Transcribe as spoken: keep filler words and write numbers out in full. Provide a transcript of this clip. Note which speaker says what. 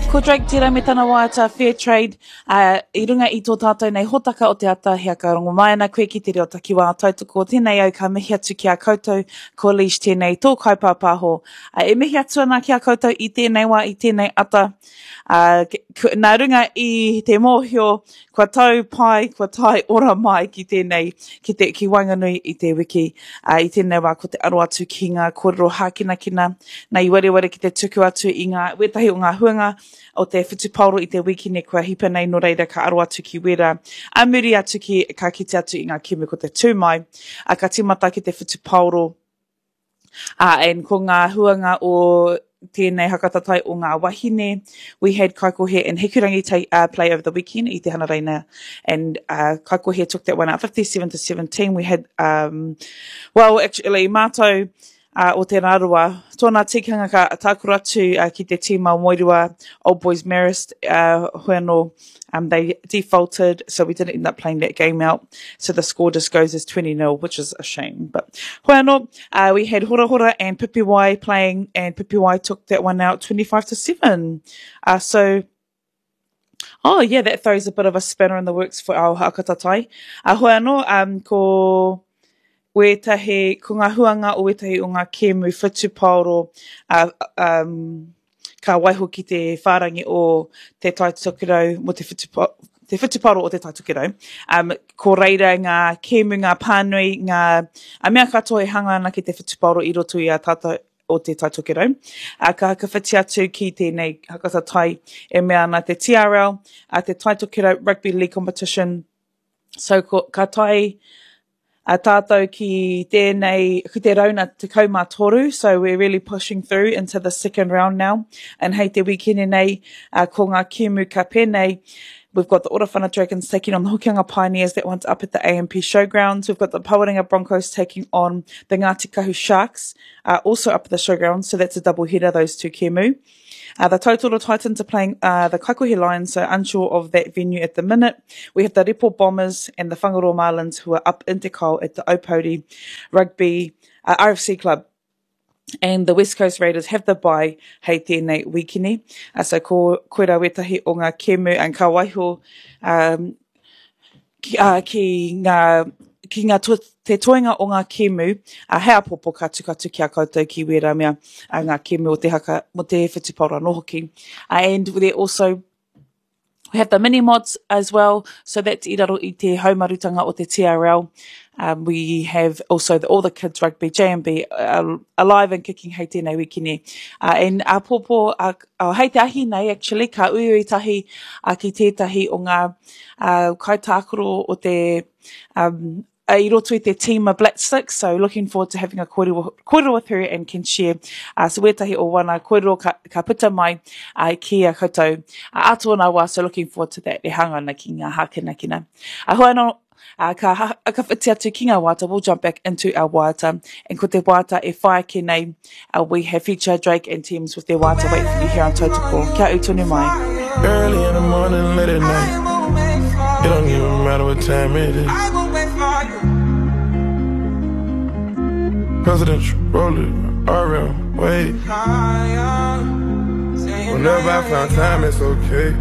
Speaker 1: Ko Drake tērā me tana waiata Fair Trade uh, i runga i tō tātou nei hōtaka o te ata he aka rongo mai ana koe ki te reo takiwā tautoko. Tēnei au ka mihi atu ki a koutou, ko Leish tēnei, tō kaipāpāho. Uh, e mihi atu ana ki a koutou i tēnei wā, i tēnei ata. Uh, nā runga i te mōhio, kua tau pai, kua tae ora mai ki tēnei, ki, te, ki waenganui i te wiki. Uh, i tēnei wā ko te aro atu ki ngā kōrero hākinakina, nā i wareware ki te tuku atu i ngā, wētahi o ngā huanga o te whutupaoro i te wikine kua hipa nei, nō reira ka aro atu ki wera. A muri atu ki, ka kite atu i ngā kēmu ko te tū mai, a ka tīmata ki te whutupaoro, uh, and ko ngā huanga o tēnei hakatatai o ngā wahine. We had Kaikohe and Hikurangi take, uh, play over the weekend i te Hanareina, and uh, Kaikohe took that one out fifty-seven to seventeen. We had, um, well, actually, mātou uh, o Te Rarawa, tōna tikanga ka tākaro atu uh, ki te tīma Moerua, Old Boys Marist, uh, hoi anō, um, they defaulted, so we didn't end up playing that game out. So the score just goes as twenty nil, which is a shame. But hoi anō, uh, we had Horahora and Pipiwai playing, and Pipiwai took that one out twenty-five to seven. Uh, so, oh yeah, that throws a bit of a spanner in the works for our hakatatai. Uh, hoi anō, um, ko wētahi, ko ngā huanga o wētahi o ngā kēmu whutupaoro, uh, um, ka waiho ki te whārangi o te Tai Tokerau, mo te whutupa, te whutupaoro o te Tai Tokerau. Um, ko reira ngā kēmu, ngā pānui, ngā a mea katoa e hanga ana ki te whutupaoro i roto i a tātou o te Tai Tokerau. Uh, ka hakawhiti atu ki tēnei hakatatai e mea ana te T R L, uh, te Tai Tokerau Rugby League Competition. So ko, ka tae a tātou ki tēnei, ki te rauna tekau mā toru, so we're really pushing through into the second round now. And hei te wikene nei, uh, ko ngā kēmu ka pēnei, we've got the Orowhana Dragons taking on the Hokianga Pioneers, that one's up at the A M P Showgrounds. We've got the Pawarenga Broncos taking on the Ngāti Kahu Sharks, uh, also up at the Showgrounds, so that's a double header, those two kēmu. Uh, the Tautoro Titans are playing, uh, the Kaikohe Lions, so unsure of that venue at the minute. We have the Repo Bombers and the Whangaroa Marlins, who are up in Te Kao at the Opouri Rugby, uh, R F C Club. And the West Coast Raiders have the bye hei tēnei wikini. Uh, so ko koera wētahi o ngā kēmu and ka waiho, um, ki, uh, ki ngā, ki ngā to, te toenga o ngā kēmu, uh, hei apopo ka tukatu ki a koutou ki wērā mea, uh, ngā kēmu o te haka, mo te whutupaoro anō hoki. Uh, and there also, we have the mini mods as well, so that's i raro i te haumarutanga o te T R L. Um, we have also the, all the kids rugby, J M B, uh, alive and kicking hei tēnei wikine. Uh, and apopo, uh, oh, hei te ahi nei, actually, ka uiui tahi, uh, ki tētahi o ngā, uh, kaitākaro o te, um, i roto i te team of Black Sticks, so looking forward to having a kōrero, kōrero with her and can share. Uh, so wētahi o wana kōrero ka, ka puta mai, uh, ki a koutou. Uh, atu ona wā, so looking forward to that. E hanga ana ki ngā hākinakina. Uh, hoi anō, uh, ka, ha, ka whiti atu ki ngā waiata, we'll jump back into our waiata. And ko te waiata e whai ake nei, uh, we have feature Drake and Tems with their waiata Wait For You here on Tautoko. Kia ū tonu mai.
Speaker 2: Early in the morning, late at night. It don't even matter what time it is. Presidential roller, R M, wait. Whenever I find time, it's okay.